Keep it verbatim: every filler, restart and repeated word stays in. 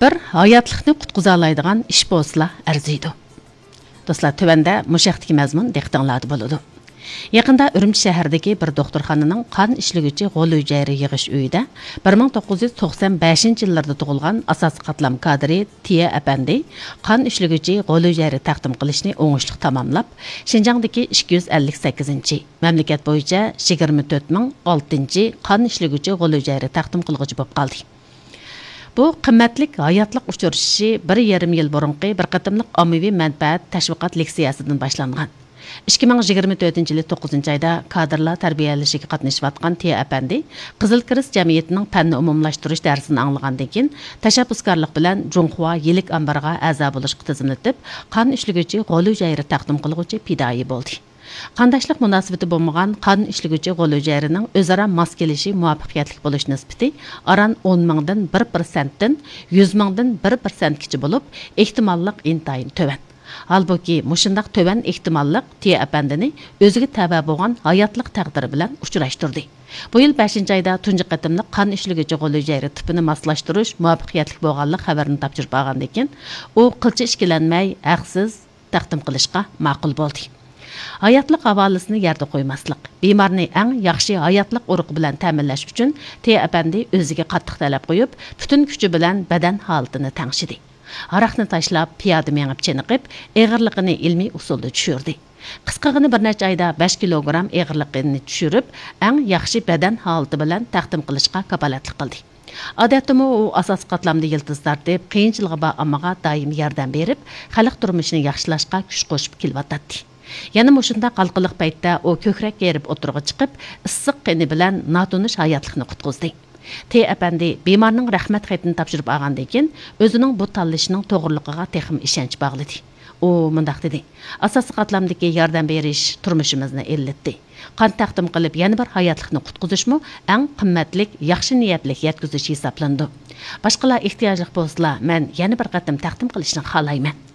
بىر ھاياتلىقنى قۇتقۇزالايدىغان ئىش بولسىلا ئەرزىيدۇ. دوستلار، تۆۋەندە مۇشۇ ھەقتىكى مەزمۇن دىققىتىڭلاردا بولىدۇ. يېقىندا ئۈرۈمچى شەھىرىدىكى بىر دوختۇرخانىنىڭ قان ئىشلىگۈچى غول ھۈجەيرە يىغىش ئۆيىدە بىر مىڭ توققۇز يۈز توقسان بەشىنچى يىللاردا تۇغۇلغان ئاساسىي قاتلام كادىرى تىيە ئەپەندى قان ئىشلىگۈچى غول ھۈجەيرە تەقدىم قىلىشنى ئوڭۇشلۇق تاماملاپ، شىنجاڭدىكى ئىككى يۈز ئەللىك سەككىزىنچى، مەملىكەت بويىچە يىگىرمە تۆت مىڭ ئالتىنچى قان ئىشلىگۈچى غول ھۈجەيرە تەقدىم قىلغۇچى بولۇپ قالدى. بۇ قىممەتلىك ھاياتلىق ئۇچرىشىشى بىر يېرىم يىل بۇرۇنقى بىر قېتىملىق ئاممىۋى مەنپەئەت تەشۋىقات لېكسىيەسىدىن باشلانغان. ئىككى مىڭ يىگىرمە تۆتىنچى يىلى توققۇزىنچى ئايدا كادىرلار تەربىيەلىشىگە قاتنىشىۋاتقان تىيە ئەپەندى قىزىل كىرېست جەمئىيىتىنىڭ پەننى ئومۇملاشتۇرۇش دەرسىنى ئاڭلىغاندىن كېيىن، تەشەببۇسكارلىق بىلەن جۇڭخۇا يىلىك ئامبىرىغا ئەزا بولۇشقا تىزىملىتىپ، قان ئىشلىگۈچى غول ھۈجەيرە تەقدىم قىلغۇچى پىدائىي بولدى. قانداشلىق مۇناسىۋىتى بولمىغان قان ئىشلىگۈچى غول ھۈجەيرىنىڭ ئۆزئارا ماس كېلىشى مۇۋەپپەقىيەتلىك بولۇش نىسبىتى ئاران ئون مىڭدىن بىر پىرسەنتتىن يۈز مىڭدىن بىر پىرسەنتكىچە بولۇپ، ئېھتىماللىق ئىنتايىن تۆۋەن. ھالبۇكى، مۇشۇنداق تۆۋەن ئېھتىماللىق تىيە ئەپەندىنى ئۆزىگە تەۋە بولغان ھاياتلىق تەقدىرى بىلەن ئۇچراشتۇردى. بۇ يىل بەشىنچى ئايدا تۇنجى قېتىملىق قان ئىشلىگۈچى غول ھۈجەيرە تىپىنى ماسلاشتۇرۇش مۇۋەپپەقىيەتلىك بولغانلىق خەۋىرىنى تاپشۇرۇپ ئالغاندىن كېيىن، ئۇ قىلچە ئىككىلەنمەي، ھەقسىز تەقدىم قىلىشقا ماقۇل بولدى. ھاياتلىق ھاۋالىسىنى يەردە قويماسلىق، بىمارنى ئەڭ ياخشى ھاياتلىق ئۇرۇقى بىلەن تەمىنلەش ئۈچۈن تىيە ئەپەندى ئۆزىگە قاتتىق تەلەپ قويۇپ، پۈتۈن كۈچى بىلەن بەدەن ھالىتىنى تەڭشىدى. ھاراقنى تاشلاپ، پىيادە مېڭىپ چېنىقىپ، ئېغىرلىقىنى ئىلمىي ئۇسۇلدا چۈشۈردى. قىسقىغىنە بىر نەچچە ئايدا بەش كىلوگرام ئېغىرلىقىنى چۈشۈرۈپ، ئەڭ ياخشى بەدەن ھالىتى بىلەن تەقدىم قىلىشقا كاپالەتلىك قىلدى. ئادەتتىمۇ ئۇ ئاساسىي قاتلامدا يىلتىز تارتىپ، قىيىنچىلىقى بار ئاممىغا دائىم ياردەم بېرىپ، خەلق تۇرمۇشىنى ياخشىلاشقا كۈچ قوشۇپ كېلىۋاتاتتى. يەنە مۇشۇنداق ھالقىلىق پەيتتە ئۇ كۆكرەك يېرىپ ئوتتۇرىغا چىقىپ، ئىسسىق قېنى بىلەن ناتونۇش ھاياتلىقنى قۇتقۇزدى. تى ئەپەندى بىمارنىڭ رەھمەت خېتىنى تاپشۇرۇپ ئالغاندىن كېيىن، ئۆزىنىڭ بۇ تاللىشىنىڭ توغرىلىقىغا تېخىمۇ ئىشەنچ باغلىدى. ئۇ مۇنداق دېدى: «ئاساسىي قاتلامدىكى ياردەم بېرىش تۇرمۇشىمىزنى ئىللىتتى. قان تەقدىم قىلىپ، يەنە بىر ھاياتلىقنى قۇتقۇزۇشمۇ ئەڭ قىممەتلىك، ياخشى نىيەتلىك يەتكۈزۈش ھېسابلىنىدۇ. باشقىلار ئېھتىياجلىق بولسىلا، مەن يەنە بىر قېتىم تەقدىم قىلىشنى خالايمەن.»